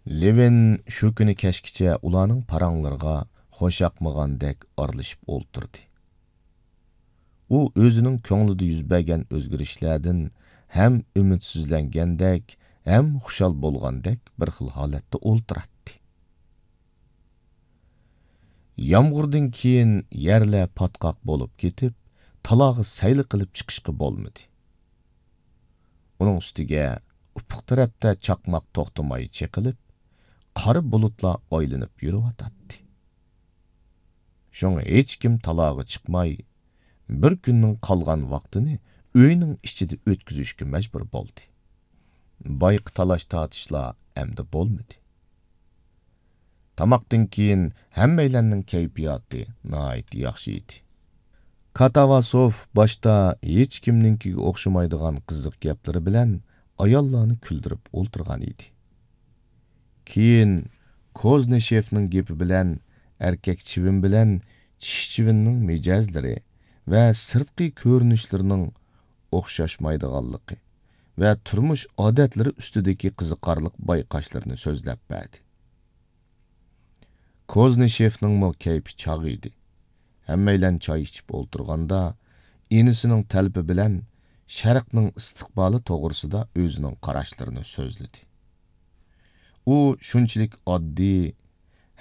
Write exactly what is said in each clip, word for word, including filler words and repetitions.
لېۋىن شۇ كۈنى كەچكىچە ئۇلارنىڭ پاراڭلىرىغا خۇشياقمىغاندەك ئارىلىشىپ ئولتۇردى. ئۇ ئۆزىنىڭ كۆڭلىدە يۈز بەرگەن ئۆزگىرىشلەردىن ھەم ئۈمىدسىزلەنگەندەك، ھەم خۇشال بولغاندەك بىر خىل ھالەتتە ئولتۇراتتى. يامغۇردىن كېيىن يەرلەر پاتقاق بولۇپ كېتىپ، تالاغا سەيلە قىلىپ چىقىشقا بولمىدى. ئۇنىڭ ئۈستىگە ئۇپۇق تەرەپتە چاقماق توختىماي چېقىلىپ، قارا بۇلۇتلار ئايلىنىپ يۈرۈۋاتاتتى. شۇڭا ھېچكىم تالاغا چىقماي، بىر كۈننىڭ قالغان ۋاقتىنى ئۆينىڭ ئىچىدە ئۆتكۈزۈشكە مەجبۇر بولدى. بايىقى تالاش-تارتىشلار ئەمدى بولمىدى. تاماقتىن كېيىن ھەممەيلەننىڭ كەيپىياتى ناھايىتى ياخشى ئىدى. كاتاۋاسوف باشتا ھېچكىمنىڭكىگە ئوخشىمايدىغان قىزىق گەپلىرى بىلەن ئاياللارنى كۈلدۈرۈپ ئولتۇرغان ئىدى. كېيىن كوزنىشېفنىڭ گېپى بىلەن ئەركەك چىۋىن بىلەن چىشى چىۋىننىڭ مىجەزلىرى ۋە سىرتقى كۆرۈنۈشلىرىنىڭ ئوخشاشمايدىغانلىقى ۋە تۇرمۇش ئادەتلىرى ئۈستىدىكى قىزىقارلىق بايقاشلىرىنى سۆزلەپ بەردى. كوزنىشېفنىڭمۇ كەيپى چاغ ئىدى. ھەممەيلەن چاي ئىچىپ ئولتۇرغاندا، ئىنىسىنىڭ تەلىپى بىلەن شەرقنىڭ ئىستىقبالى توغرىسىدا ئۆزىنىڭ قاراشلىرىنى سۆزلىدى. ئۇ شۇنچىلىك ئاددىي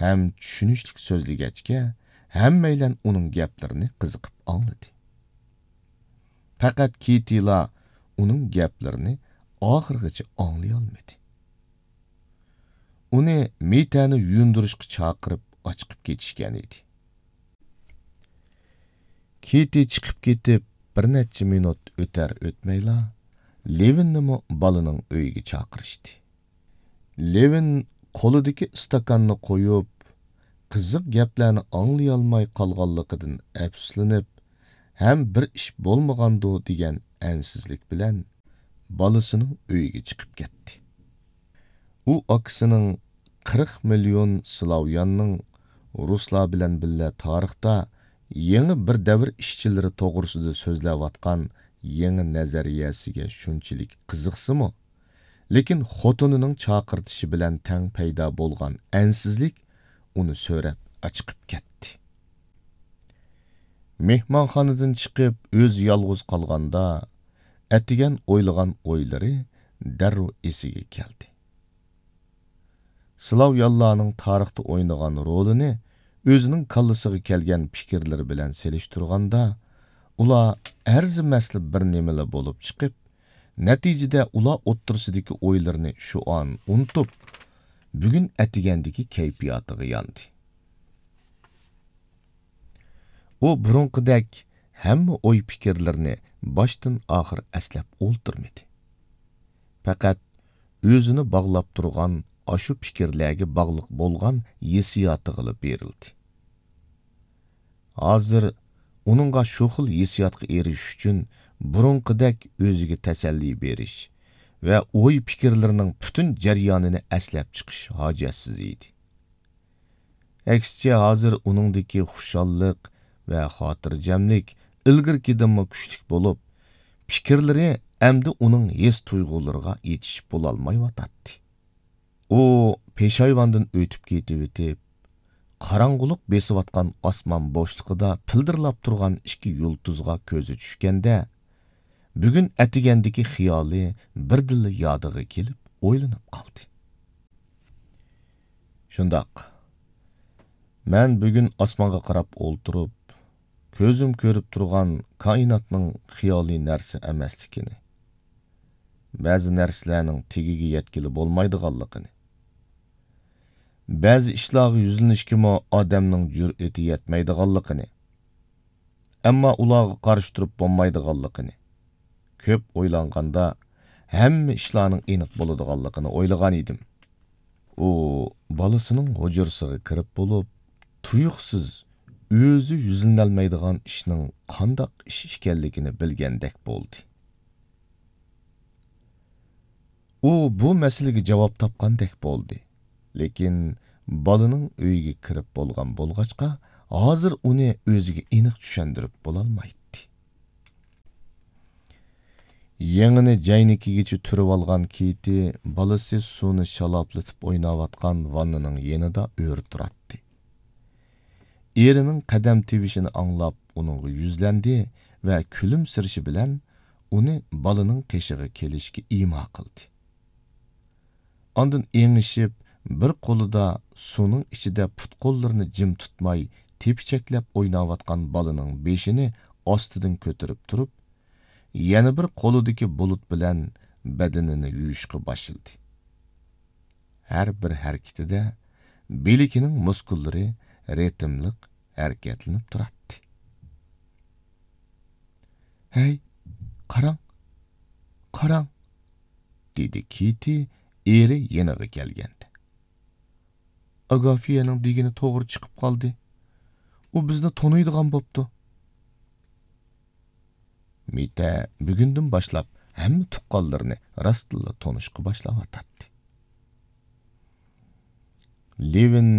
ھەم چۈشىنىشلىك سۆزلىگەچكە، ھەممەيلەن ئۇنىڭ گەپلىرىنى قىزىقىپ ئاڭلىدى. پەقەت كىتىلا ئۇنىڭ گەپلىرىنى ئاخىرغىچە ئاڭلىيالمىدى. ئۇنى مىتەنى يۇيۇندۇرۇشقا چاقىرىپ ئاچىقىپ كېتىشكەن ئىدى. كىتى چىقىپ كېتىپ بىر نەچچە مىنۇت ئۆتەر-ئۆتمەيلا، لېۋىننىمۇ بالىنىڭ ئۆيىگە چاقىرىشتى. لېۋىن قولىدىكى ئىستاكاننى قويۇپ، قىزىق گەپلەرنى ئاڭلىيالماي قالغانلىقىدىن ئەپسۇسلىنىپ، ھەم بىر ئىش بولمىغاندۇ دېگەن ئەنسىزلىك بىلەن بالىسىنىڭ ئۆيىگە چىقىپ كەتتى. ئۇ ئاكىسىنىڭ قىرىق مىليون سلاۋياننىڭ رۇسلار بىلەن بىللە تارىختا يېڭى بىر دەۋر ئىشچىلىرى توغرىسىدا سۆزلەۋاتقان يېڭى نەزەرىيەسىگە شۇنچىلىك قىزىقسىمۇ، لېكىن خوتۇنىنىڭ چاقىرتىشى بىلەن تەڭ پەيدا بولغان ئەنسىزلىك ئۇنى سۆرەپ ئاچىقىپ كەتتى. مېھمانخانىدىن چىقىپ ئۆزى يالغۇز قالغاندا، ئەتىگەن ئويلىغان ئويلىرى دەررۇ ئېسىگە كەلدى. سلاۋيانلارنىڭ تارىختا ئوينىغان رولىنى ئۆزىنىڭ كاللىسىغا كەلگەن پىكىرلىرى بىلەن سېلىشتۇرغاندا، ئۇلار ئەرزىمەسلا بىر نېمىلا بولۇپ چىقىپ، نەتىجىدە ئۇلار ئوتتۇرىسىدىكى ئويلىرىنى شۇئان ئۇنتۇپ، بۈگۈن ئەتىگەندىكى كەيپىياتىغا ياندى. ئۇ بۇرۇنقىدەك ھەممە ئوي-پىكىرلىرىنى باشتىن-ئاخىر ئەسلەپ ئولتۇرمىدى. پەقەت ئۆزىنى باغلاپ تۇرغان ئاشۇ پىكىرلەرگە باغلىق بولغان ھېسسىياتىغىلا بېرىلدى. ھازىر ئۇنىڭغا شۇ خىل ھېسسىياتقا ئېرىشىش ئۈچۈن بۇرۇنقىدەك ئۆزىگە تەسەللى بېرىش ۋە ئوي-پىكىرلىرىنىڭ پۈتۈن جەريانىنى ئەسلەپ چىقىش ھاجەتسىز ئىدى. ئەكسىچە، ھازىر ئۇنىڭدىكى خۇشاللىق ۋە خاتىرجەملىك ئىلگىرىكىدىنمۇ كۈچلۈك بولۇپ، پىكىرلىرى ئەمدى ئۇنىڭ ھېس-تۇيغۇلىرىغا يېتىشىپ بولالمايۋاتاتتى. ئۇ پېشايۋاندىن ئۆتۈپ كېتىۋېتىپ، قاراڭغۇلۇق بېسىۋاتقان ئاسمان بوشلۇقىدا پىلدىرلاپ تۇرغان ئىككى يۇلتۇزغا كۆزى چۈشكەندە، بۈگۈن ئەتىگەندىكى خىيالى بىردىنلا يادىغا كېلىپ ئويلىنىپ قالدى. شۇنداق. مەن بۈگۈن ئاسمانغا قاراپ ئولتۇرۇپ، كۆزۈم كۆرۈپ تۇرغان كائىناتنىڭ خىيالىي نەرسە ئەمەسلىكىنى، بەزى نەرسىلەرنىڭ تېگىگە يەتكىلى بولمايدىغانلىقىنى، بەزى ئىشلارغا يۈزلىنىشكىمۇ ئادەمنىڭ جۈرئىتى يەتمەيدىغانلىقىنى، ئەمما ئۇلارغا قارشى تۇرۇپ بولمايدىغانلىقىنى، كۆپ ئويلانغاندا ھەممە ئىشلارنىڭ ئېنىق بولىدىغانلىقىنى ئويلىغان ئىدىم. ئۇ بالىسىنىڭ ھۇجرىسىغا كىرىپ بولۇپ، تۇيۇقسىز ئۆزى يۈزلىنەلمەيدىغان ئىشنىڭ قانداق ئىش ئىكەنلىكىنى بىلگەندەك بولدى. ئۇ بۇ مەسىلىگە جاۋاب تاپقاندەك بولدى. لېكىن بالىنىڭ ئۆيىگە كىرىپ بولغان بولغاچقا، ھازىر ئۇنى ئۆزىگە ئېنىق چۈشەندۈرۈپ بولالمايتتى. يېڭىنى جەينىكىگىچە تۈرۈۋالغان كېيتى بالىسى سۇنى شالاپلىتىپ ئويناۋاتقان ۋاننىنىڭ يېنىدا ئۆرە تۇراتتى. ئېرىنىڭ قەدەم تىۋىشىنى ئاڭلاپ، ئۇنىڭغا يۈزلەندى ۋە كۈلۈمسىرىشى بىلەن ئۇنى بالىنىڭ قېشىغا كېلىشكە ئىما قىلدى. ئاندىن ئېڭىشىپ، بىر قولىدا سۇنىڭ ئىچىدە پۇت-قوللىرىنى جىم تۇتماي تېپىچەكلەپ ئويناۋاتقان بالىنىڭ بېشىنى ئاستىدىن كۆتۈرۈپ تۇرۇپ، يەنە بىر قولىدىكى بۇلۇت بىلەن بەدىنىنى يۇيۇشقا باشلىدى. ھەر بىر ھەرىكىتىدە بىلىكىنىڭ مۇسكۇللىرى رىتىملىق ھەرىكەتلىنىپ تۇراتتى. «ھەي، قاراڭ، قاراڭ!» دېدى كېتى ئېرى يېنىغا كەلگەندە. «ئاگافىيەنىڭ دېگىنى توغرا چىقىپ قالدى. ئۇ بىزنى تونۇيدىغان بوپتۇ.» مىتە بۈگۈندىن باشلاپ ھەممە تۇغقانلىرىنى راستتىنلا تونۇشقا باشلاۋاتاتتى. لېۋىن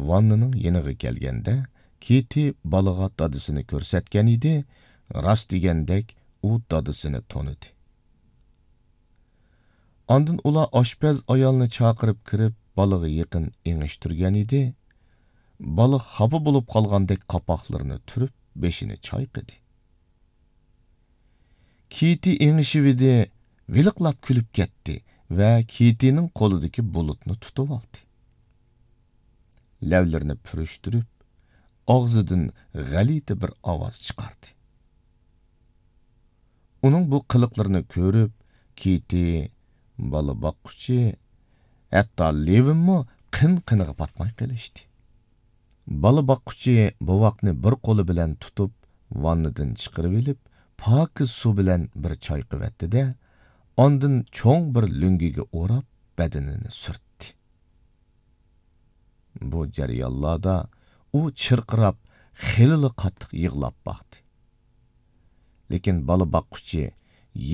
ۋاننىنىڭ يېنىغا كەلگەندە، كېتى بالىغا دادىسىنى كۆرسەتكەن ئىدى، راست دېگەندەك، ئۇ دادىسىنى تونۇدى. ئاندىن ئۇلار ئاشپەز ئايالنى چاقىرىپ كىرىپ، بالىغا يېقىن ئېڭىشتۈرگەن ئىدى. بالا خاپا بولۇپ قالغاندەك قاپاقلىرىنى تۈرۈپ، بېشىنى چايقىدى. كېتى ئېڭىشىۋىدى، ۋىلىقلاپ كۈلۈپ كەتتى ۋە كېتىنىڭ قولىدىكى بۇلۇتنى تۇتۇۋالدى. لەۋلىرىنى پۈرۈشتۈرۈپ، ئاغزىدىن غەلىتە بىر ئاۋاز چىقاردى. ئۇنىڭ بۇ قىلىقلىرىنى كۆرۈپ، كېتى، بالا باققۇچى، ھەتتا لېۋىنمۇ قىن-قىنىغا پاتماي قېلىشتى. بالا باققۇچى بوۋاقنى بىر قولى بىلەن تۇتۇپ، ۋاننىدىن چىقىرىۋېلىپ، پاكىز سۇ بىلەن بىر چايقىۋەتتى-دە، ئاندىن چوڭ بىر لۆڭگىگە ئوراپ، بەدىنىنى سۈرتتى. بۇ جەريانلاردا ئۇ چىرقىراپ، خېلىلا قاتتىق يىغلاپ باقتى. لېكىن بالا باققۇچى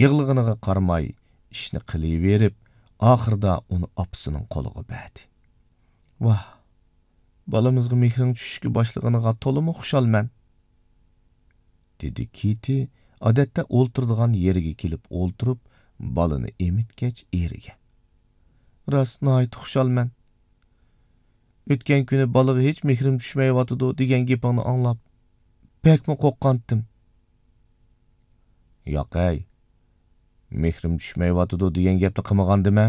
يىغلىغىنىغا قارىماي، ئىشنى قىلىۋېرىپ، ئاخىرىدا ئۇنى ئاپىسىنىڭ قولىغا بەردى. «ۋاھ، بالىمىزغا مېھرىڭ چۈشۈشكە باشلىغىنىغا تولىمۇ خۇشالمەن.» دېدى كېتى، ئادەتتە ئولتۇرىدىغان يېرىگە كېلىپ ئولتۇرۇپ، بالىنى ئېمىتكەچ ئېرىگە. «راست ناھايىتى خۇشالمەن. ئۆتكەن كۈنى بالىغا ھېچ مېھرىم چۈشمەيۋاتىدۇ دېگەن گېپىڭنى ئاڭلاپ، بەكمۇ قورققانتىم.» «ياق ھەي، مېھرىم چۈشمەيۋاتىدۇ دېگەن گەپنى قىلمىغانتىم-ھە.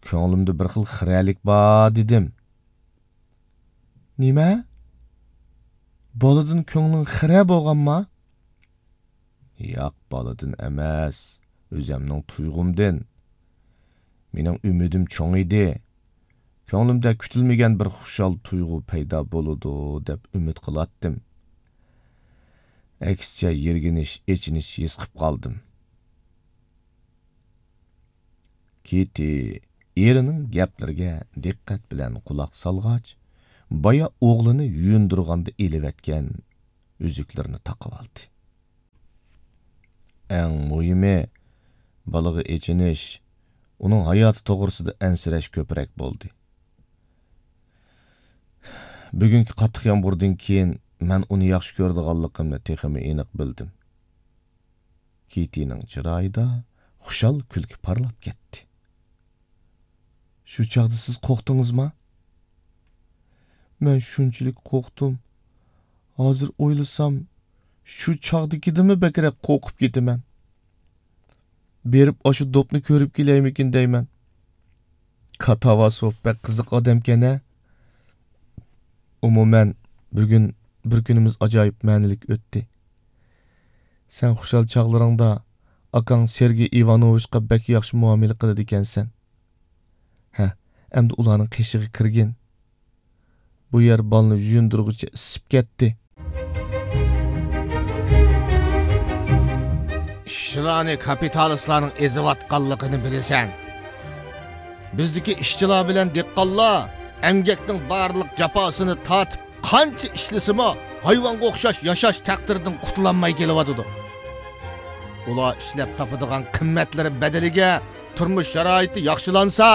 كۆڭلۈمدە بىر خىل خىرەلىك بار دېدىم.» «نېمە؟ بالىدىن كۆڭلۈڭ خىرە بولغانما؟» «ياق، بالىدىن ئەمەس، ئۆزەمنىڭ تۇيغۇمدىن. مېنىڭ ئۈمىدىم چوڭ ئىدى. كۆڭلۈمدە كۈتۈلمىگەن بىر خۇشال تۇيغۇ پەيدا بولىدۇ دەپ ئۈمىد قىلاتتىم. ئەكسىچە يىرگىنىش، ئېچىنىش ھېس قىپ قالدىم.» كېتى ئېرىنىڭ گەپلىرىگە دىققەت بىلەن قۇلاق سالغاچ، بايا ئوغلىنى يۇيۇندۇرغاندا ئېلىۋەتكەن ئۈزۈكلىرىنى تاقىۋالدى. ئەڭ مۇھىمى، بالىغا ئېچىنىش، ئۇنىڭ ھاياتى توغرىسىدا ئەنسىرەش كۆپرەك بولدى. بۈگۈنكى قاتتىق يامغۇردىن كېيىن مەن ئۇنى ياخشى كۆرىدىغانلىقىمنى تېخىمۇ ئېنىق بىلدىم. كېتىنىڭ چىرايىدا خۇشال كۈلكە پارلاپ كەتتى. شۇ چاغدا سىز قورقتىڭىزما؟ مەن شۇنچىلىك قورقتۇم. ھازىر ئويلىسام، شۇ چاغدىكىدىنمۇ بەكرەك قورقۇپ كېتىمەن. بېرىپ ئاشۇ دوپنى كۆرۈپ كېلەيمىكىن دەيمەن. كاتاۋاسوف بەك قىزىق ئادەمكەن-ھە. ئومۇمەن، بۈگۈن بىر كۈنىمىز ئاجايىپ مەنىلىك ئۆتتى. سەن خۇشال چاغلىرىڭدا ئاكاڭ سېرگېي ئىۋانوۋىچقا بەك ياخشى مۇئامىلە قىلىدىكەنسەن. ھە، ئەمدى ئۇلارنىڭ قېشىغا كىرگىن. بۇ يەر بالىنى يۇيۇندۇرغۇچە ئىسسىپ كەتتى. ئىشچىلارنى كاپىتالىستلارنىڭ ئېزىۋاتقانلىقىنى بىلىسەن. بىزدىكى ئىشچىلار بىلەن دېھقانلار ئەمگەكنىڭ بارلىق جاپاسىنى تارتىپ، قانچە ئىشلىسىمۇ، ھايۋانغا ئوخشاش ياشاش تەقدىرىدىن قۇتۇلالماي كېلىۋاتىدۇ. ئۇلار ئىشلەپ تاپىدىغان قىممەتلىرى بەدىلىگە تۇرمۇش شارائىتى ياخشىلانسا،